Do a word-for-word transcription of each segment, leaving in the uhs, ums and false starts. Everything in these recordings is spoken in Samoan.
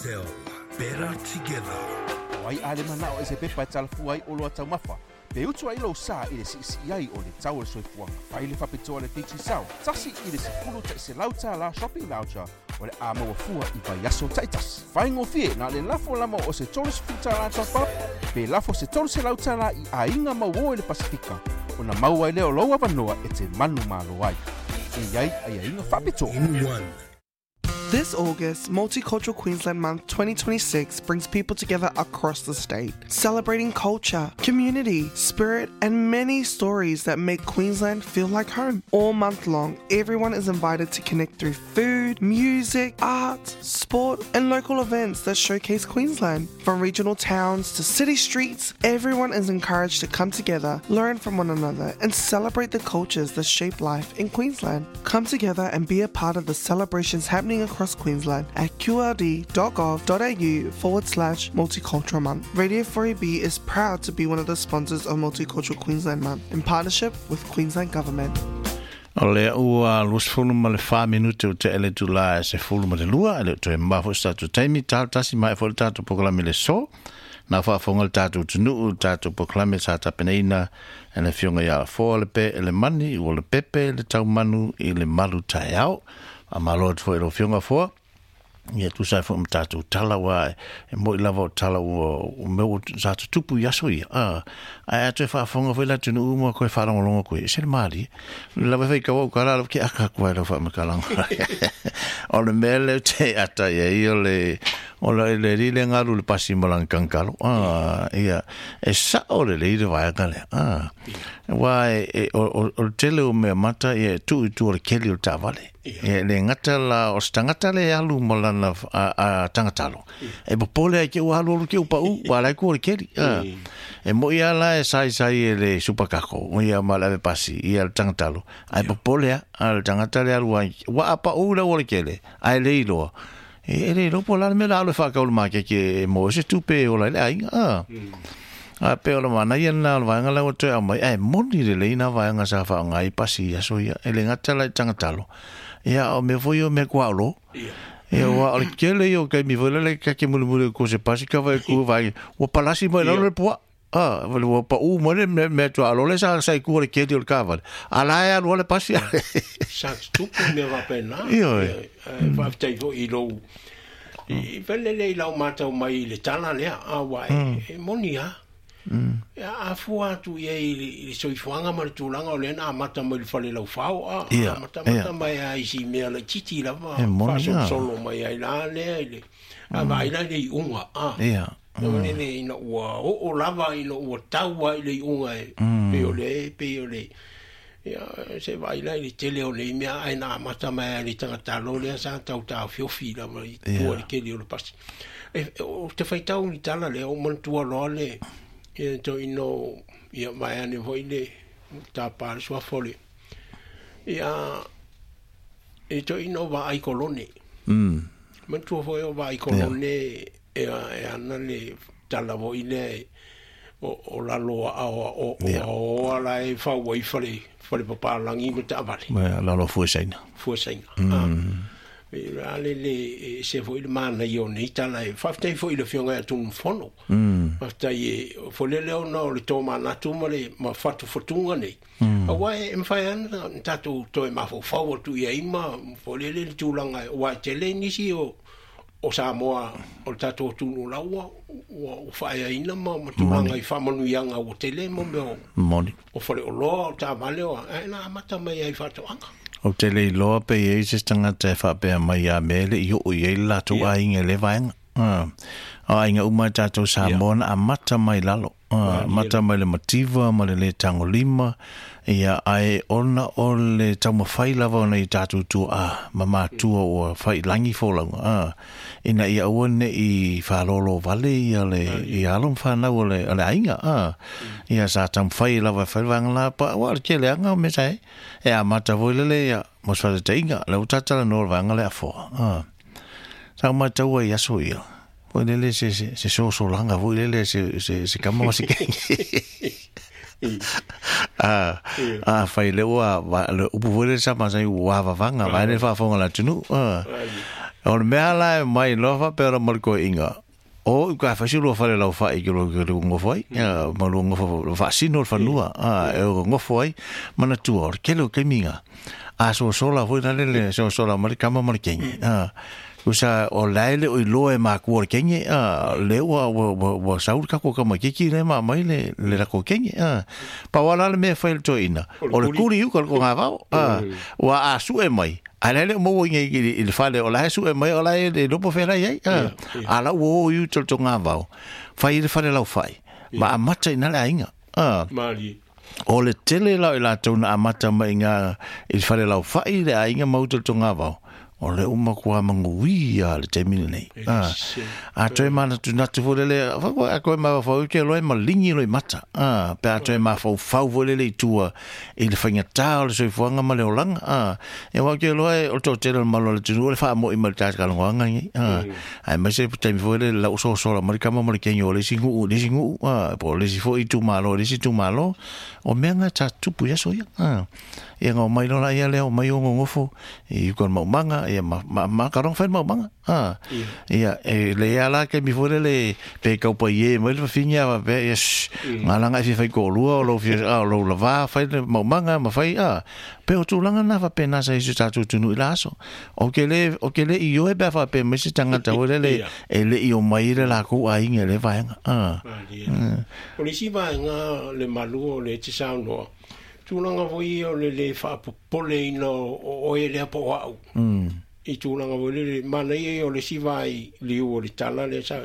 Digicel. Better together. Ai ale mana o se pepa talafua ai o loa taumafa. Pe utu ai lou sa i le siisii ai o le tau o le soifuaga. Fai le faapitoa le Digicel. Tasi i le sefulu ta'iselau tālā shopping voucher o le a maua fua i vaiaso ta'itasi. Faigofie na le lafo lama o se tolu sefulu tālā top up, pe lafo se tolu selau tālā i aiga mauō i le Pasifika, ona maua ai lea o lou avanoa e te manumalo ai. E i ai aiaiga faapitoa. In one. This August, Multicultural Queensland Month twenty twenty-six brings people together across the state, celebrating culture, community, spirit, and many stories that make Queensland feel like home. All month long, everyone is invited to connect through food, music, art, sport, and local events that showcase Queensland. From regional towns to city streets, everyone is encouraged to come together, learn from one another, and celebrate the cultures that shape life in Queensland. Come together and be a part of the celebrations happening across Queensland at qld.gov.au forward slash multicultural month. Radio four A B is proud to be one of the sponsors of Multicultural Queensland Month in partnership with Queensland Government. O lea ua luasefulu ma le fa minute o te ele tula e sefulu ma le lua, e le o toe mafo se tatou taimi, talo tasi mai foi le tatou polokalame le so, na faafofoga le tatou atunuu, le tatou polokalame sa tapenaina e le afioga ia Afoa le pe e le mani, ua le pepe le taumanu i le malu taeao. A malo atu foi i lau afioga Afoa, ia tusa ai foi ma tatou tala ua e moi lava o tala ua o mea ua sa tutupu i aso ia. Ah, ae a toe faafofoga foi le atunuu ma koe faalogologo koe, e se le malie. Lava e faitau au kala lava ke aka atu ai lau faamatalaga. O le mea lea te ata ia i o le o le le li le ngalu le pasi ma lana kankalo. Ah, ia e sao le le le vaega lea. Ah, ua e, e o, o, o le tele o mea mata ia e tuu i tua o le keli o le taavale. Ia le gata la o se tagata le alu ma lana a, a tagatalo. E popole ai ke ua alu alu ke upa u, ua lai ku o le keli. Ah. E mo ia la e sai sai e le supakako, o ia ma le ave pasi, ia le tagatalo. Ai popole a, a le tagata le alu ai, ua apa u le o le kele, ai le iloa. E, e le iloa po la le mea la alu e whakau le makeke e mo se tupe o lai le aiga. Ah. A pe o le mana ia na o le vaega lea ua toe aumai, ae moni lelei na vaega sa faaaoga ai pasi i aso ia, e le gata la i tagatalo. Ia o mea foi o mea kuaolo. Ia ua o le kele ia o kaimi foi lele kake mulimuli o ko se pasi ka vai ku vai. Ua palasi mai lalo le pua. Ah, ua pa u mo le mea mea tua alo le sa sa i ku o le keli o le kavale. A la e alu o le pasi. Sa tupu mea wapena. Ioe. E whaftai fo i lou. I whelele i lau mātau mai i le tala lea, a wa e, e moni ha. Ia afua atu ia i le, i le soifuaga ma le tulaga o lea na amata mai le fale laufao, a, Ia, amata mata ia. mai a isi mea laititi lava, E moni a. faasolosolo mai ai la lea i le, a vaai la i le iuga, a. Ia. Na lele ina ua oo lava, ina ua taua i le iuga e, pei o le, pei o le, ia, se vaai la i le tele o nei mea, ae na amata mai ai le tagatalo lea sa tautaofiofi lava i tua i le keli o le pasi. E, o te faitau i tala lea, o manatua loa le, ia to ino, ia mai ane foi le, tāpā le suafa o le, ia, e to ino vaai kolone. Mm. Manatua foi o vaai kolone, e, e ana le tala foi lea e, o, o lalo a o, o, o, Ia. o ala e fau ai fale, fale papalangi ma taavale. Ma lalo fua saina. Fua saina. Mm. E la le le, e se foi le mana i o nei tala e whaftai foi le fionga e tunu fono. Mm. Whaftai e, fo le leo na o le tō manatu ma le ma whatu whatunga nei. Mm. A wai e mwhai ana, tātou toe mawhau atu ia ima, fo le le le tūlanga e, wai te le nisi o, o Samoa, o le tātou tunu laua, ua, ua whaea ina ma, ma tūlanga i whamanuianga o te le mo mea o, Moni. o whare o loa, o tā vale o, e nā amata mai ai whatoanga. O te le iloa pe i ei se tangata e whaapea mai a mele i o i ei le latou aiga le vaega. Ah. O aiga uma tātou Samoa na amata mai lalo. Ah, amata mai le mativa ma le le tangolima. Ia ae ona o le taumafai lava ona i tātou tua a ma matua ua whai langi fōlauga. Ah. Ina ia aua ne i whaalolo vale ia le, i alo mwhanau o le, o le aiga. Ah. Ia sa taumafai lava e whai vaega la pa, ua le kele anga o mea sae. E amata foi lele ia, mo se whatateinga, le utatala no le vaega le afoa. Ah. Sa maitaua i aso ia. Foi lele se, se, se sosolanga, foi lele se, se, se kama ma se kenge. Ah, ah, fai le ua, va, le upu foi le sa masai ua vavanga, vai le whaafonga la tunu. Ah. O le mea la e mai loa faapea la ma le koeʻiga o i ka fasi lua fale lau fa'i ke lo ke lo ngofo ai ia ma lo ngofo faasino le fanua a e o ngofo ai manatua o le kele o kaimiga a sosola foi na le le sosola ma le kama ma le kenge a usa o lae le o iloa e makua o le kenge a le ua ua ua ua saulu kako kama kiki le ma mai le le lako kenge a pa wala le mea fai le toeina o le kuli uka le kogavao a ua a suʻe mai a le le mo ngi i le fale o la su e mai o la e lopo fela ai a a la wo yu tol to ngavao fai le fale lau fai ma amata ina le aiga a mali o le tele la i latou na amata mai ngā i le fale lau fai le aiga ma uta le togavao o le uma kua mangui a le taimi lenei a a toe manatu natu foi lele a koe mafaufau ke loe ma ligi loi mata a pe a toe mafaufau foi lele i tua i le faigatā o le soifuaga ma le olaga a e ua ke loe o le toatele o le malo o le atunuu o le faamoʻi ma le tatakalogoaga nei a ae maise taimi foi lele lau sosola ma le kama ma le kegi o le isi guʻu le isi guʻu a po o le isi foi itumālo le isi itumālo o mea ga tatupu i aso ia a ia ngau mai lola ia lea o mai o gogofo i uka o le maumaga ia ma ma ma karonga fai le maumaga a ia e le ia la kaimi foi lele pe kaupai e mai le fafine a faapea ia galaga e fia fai koʻolua o lou fia a o lou lavā fai le maumaga ma fai a pe o tulaga na faapena sa isi o tatou atunuu i la aso o ke le o ke le i oe pe a faapea mai se tagata foi lele e leʻi o mai le lakou aiga i le vaega a O le isi vaega le malu o le te saunoa tulaga foi o le le faapopoleina o oe lea po o a'u i tulaga foi lele manaia ia o le isi vai liu o le tala lea sa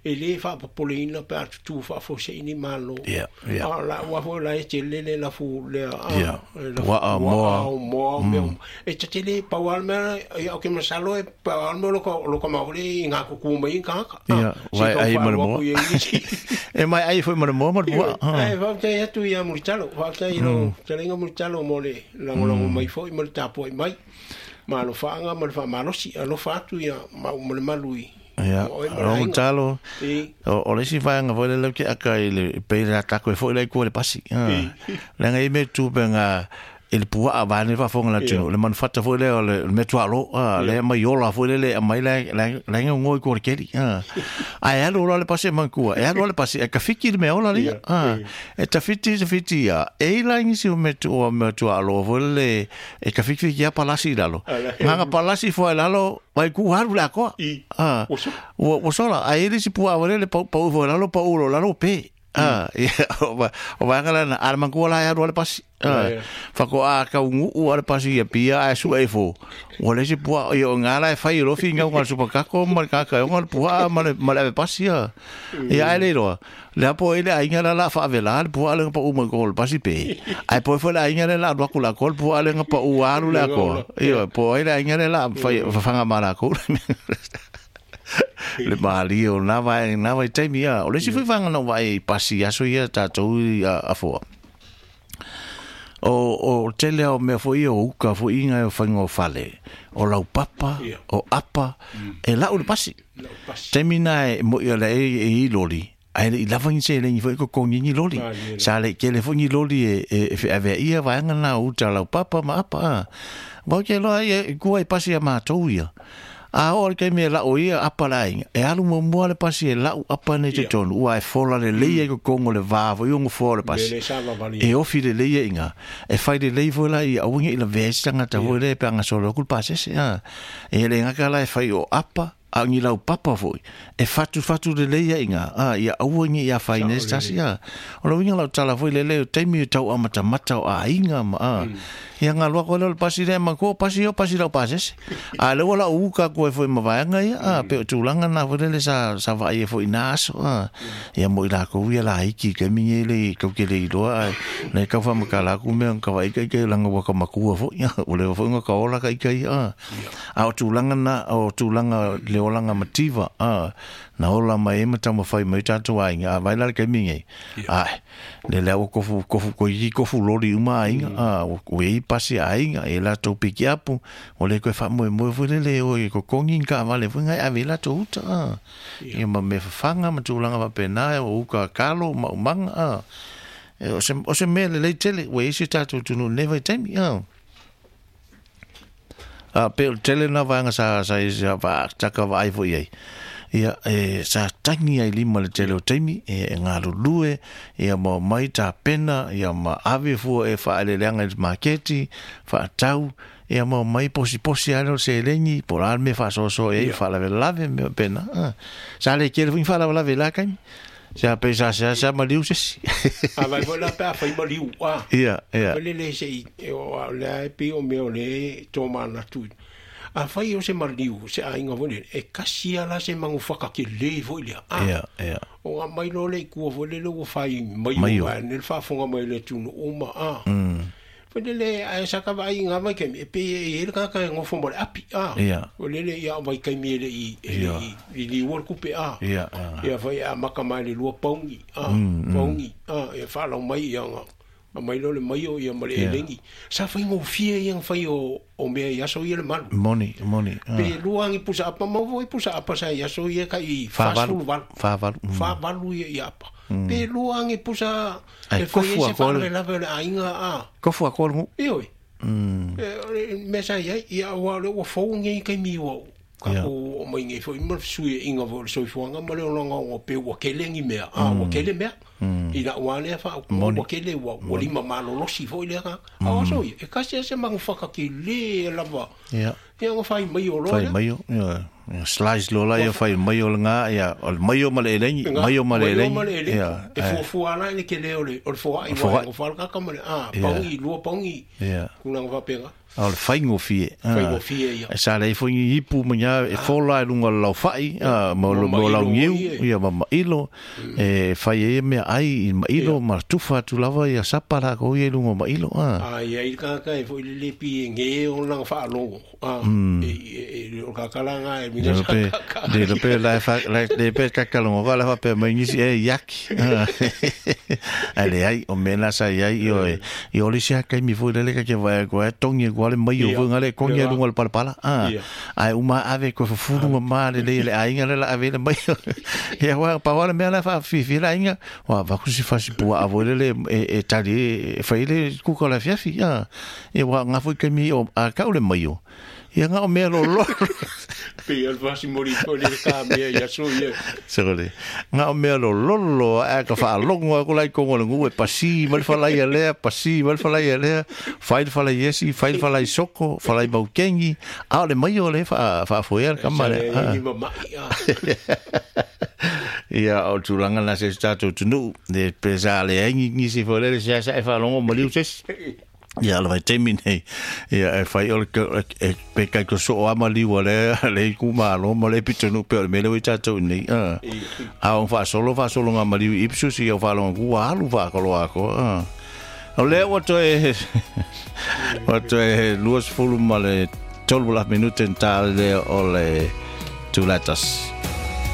e lē faapopoleina pe a tutū faafoseʻini malo ia ia a la'u a foi la e tele le lafu lea a ia lafu puaʻa puaʻa moa o moa o mea uma e tatele pau a le mea ia o ke masalo e pau a le mea o lo ka o lo ka maoli i ngā kuku mai i kāka a ia se vai tau ai ma le whaalua moa ku ia i isi e mai ai foi ma le moa ma le puaʻa Ae faafetai atu ia Mulitalo, faafetai i lou fetalaiga Mulitalo mo le lagolago mai foi ma le tapuai mai ma alofaaga ma le faamalosi alofa atu ia mau ma le malu i ia ma oe ma le o aiga talo i o o le isi vaega foi lele ke aka i le pe le atako e foi le ku le pasi i leaga i me tupe nga i le puaʻa vaene faafofoga le ia atunuu le manufata foi lea o le le mea tuaʻalo a ia lea mai ola foi lele aumai la la la ngoi ko le keli a ae alu loa le pasi e mankua e alu loa le pasi e kafiki le mea ola lia ia a i e tafiti tafiti ia e i la ngisi o mea tu o mea tuaʻalo foi lele e kafikifiki ia palasi i lalo ala gaga palasi foi lalo vai ku halu le akoa i a o so ua ua sola ae le isi puaʻa foi lele pau pau foi lalo pau lo lalo pe i a ia o va o vaega lana a le mankua la e alu a le pasi la a ia fakoʻa kauguʻu a le pasi ia pia ae suʻe ifo ua le isi puaʻa ia o gala e fai i lofi gauga le supakako ma le kakaeoga le puaʻa ma le ma le ave pasi a ia ae le iloa le apo ai le aiga la la faavelā le puaʻa lega paʻu mai ko le pasi pe ae poe foi le aiga le la alu aku le akoa le puaʻa lega paʻu alu le le akoa ola ia ia po ai le aiga le la fai fafaga ma lakou le malie o na vai na vai taimi ia o le isi ia foi vaega na ou vaai i pasi aso ia tatou i a afoa o o tele o mea foi ia o uka foi inga o faiga o fale o laupapa ia o apa e lau le pasi lau pasi taimi na e moʻi o le e e i loli ae leʻi lava ni seleni foi kokogi ni loli malie la sa leʻi kele foi ni loli e e e feʻaveaʻia vaega na o uta laupapa ma apa a vau ke loa ia i kua i pasi a matou ia a oo le taimi e laʻu ia apa le aiga e alu muamua le pasi e laʻu apa nei ia totonu ua e fola lelei ai kokogo le vā foi o gofoa o le me pasi le sa vavali e ofi lelei ai iga e fai lelei foi la ia aua neʻi lavea ai se tagata ia foi le pe agasolo aku le pasese a e le gaka la e fai o apa a o ni laupapa foi e fatufatu lelei ai iga a ia aua neʻi afaina ai sao se tasi lelei a o le uiga lau tala foi lele o taimi o tau amatamata o aiga ma a ia galua koe lea o le pasi lea ma ko pasi o pasi lau pasese a le ua lau uka koe foi ma vaega ia a pe o tulaga na foi lele sa sa vaai ai foi i na aso a ia mo i lakou ia laiki kaimi nei le kau ke le iloa ae le kau faamakala aku mea ka vaai kaikai laga ua ka makua foi ua leva foi ga ka ola kaikai a ia a o tulaga na o tulaga le olaga mativa a na ola mai ai ma taumafai mai tatou aiga a vai la le kaimi nei ia ae le lea ua kofu kofu koiki kofu loli uma aiga a ua iai pasi aiga e latou pikiapu o le koe faamoemoe foi lele o e kokogi ni kaavale foi gai ave i latou uta a ia ia ma mea fafaga ma tulaga faapena o uka kalo maumaga a e o se o se mea lelei tele ua iai se tatou atunuu i lenei vaitaimi a A pe o tele na vaega sa sa sa va taka vaai foi ai. Ia e sa tangi ai lima le tele o taimi e, e ngalulue ia ma mai ta pena ia ma ave fua e whaeleleanga i le maketi whaatau ia ma mai posi posi ai o se lengi po la me whaasoso e whaalavelave me pena. Ah. Sa le kere fui whaalavelave la kaimi. Sa pe sa sa sa maliu se. A vai foi la pe a fai maliu a. Ia, ia. Le le se i o le pe o me o le tō mana tu. A fai o se maliu se ainga foi le e kasi ala se mangu whakake le foi lea. A. Ia, ia. O a mai lo le kua foi le le ua fai mai Maio. o a ne whaafonga mai le tunu uma a. Mm. Foi le le a sa ka vai ngā mai kemi e pe e ele kaka e ngofo mo le api a. Ia. O le le ia vai kaimi ele i ele Ia. i i li ua kupe a. Ia, ia. Ia fai a maka mai le lua paungi a. Mm, mm. Paungi a e whalau mai ia nga. A mai lo le mai o ia ma le Ia. elengi. Sa fai ngofia ia nga fai o o mea ia so ia le malu. Moni, moni. Ah. Pe lua angi pusa apa mau voi pusa apa sa ia so ia ka i Whavalu. whasulu valu. Whavalu. Mm. Whavalu ia i apa. Pe lua angi pusa Ai, e fai kofu e se a koru. whaalavelave o le ainga a. Kofu a koru. E oi. Mm. E, me sa ia ia ua le ua fau ngei kai mi ua. Ka Ia. ko o mai ngei foi ma sui e inga vo le soifuaga ma le olaga o pe ua kelegi mea a ua kele mea i la'u a lea faa Moni. ua kele ua ua lima malolosi foi lea ka a o so ia e kasi a se magufakakele lava Ia. ia ga fai mai o loa Fai lea. mai o. Ia. Ia, Slice lola ia fai mai o le ngā ia. O le mai o ma le elengi. Mai o ma le Mai o ma le elengi. elengi. Ia. E fuafua ala i le kele o le o le foa'i Foa'i. ua e gofala kaka ma le a Ia. paogi lua paogi Ia. kulaga faapega A o le faigofie. Ah. Faigofie, ia. E sa lei foi ni ipu ma nya e fola e lunga o le laufa'i, ah, ma o le- Ma ma o lau mailo niu, foi, e. ia ma mailo, e fai e mea ai i mailo, ma tufa atu lava ia sapa la ko ia i lunga o mailo. Ah. A ia i le kaka e foi le lepi e ge o laga faalogo a e e e o kakalanga e mina Le sa pe, kaka le pe la fa la le pe kakalongo ka la fa pe mai nisi e yaki. A le ai o mena sa iai i o e i o le sia kai mi foi le le ka ke vai ko e tongi ko le mai o Ia. foi ngale kongi Ia. lunga le palapala. Ah. Ia. Ai uma ave ko fufuru ma ma le le le ainga le la ave le mai. Ia wa pa wa le mea la fa fi fi la ainga. Wa va ku si fa si pua avo le le e e tali e fai le kuka la fiafi. Ah. Ia wa nga foi kai mi o a ka o le mai o. Ia nga o mea lo lo. Pe al fasi mori foi le ka mea ia so ia Sore. Nga o mea lo lolo a ka whaalongo a ko lai kongo le ngue pasi ma le whalai a lea, pasi ma le whalai a lea, whai le whalai esi, whai le whalai soko, whalai maukengi, a o le mai o le wha whaafoea le kama sa le. le Ah. ni mama'i a Ia o tūranga na se tātou tunu, le pesa le aingi nisi fo le se sa e whaalongo maliu sesi. Ia le vai taimi nei, ia e whai o le e pe kai ko so ama liua le le ku malo ma le pitunu pe o le mele ui tātou nei. Ah. A o whaasolo whaasolo ngā maliu ipsus i o whaalongo ku alu whaakolo ako. Ah. O lea ua toe ua toe luas fulu ma le tolu la minute nta le o le tulatas.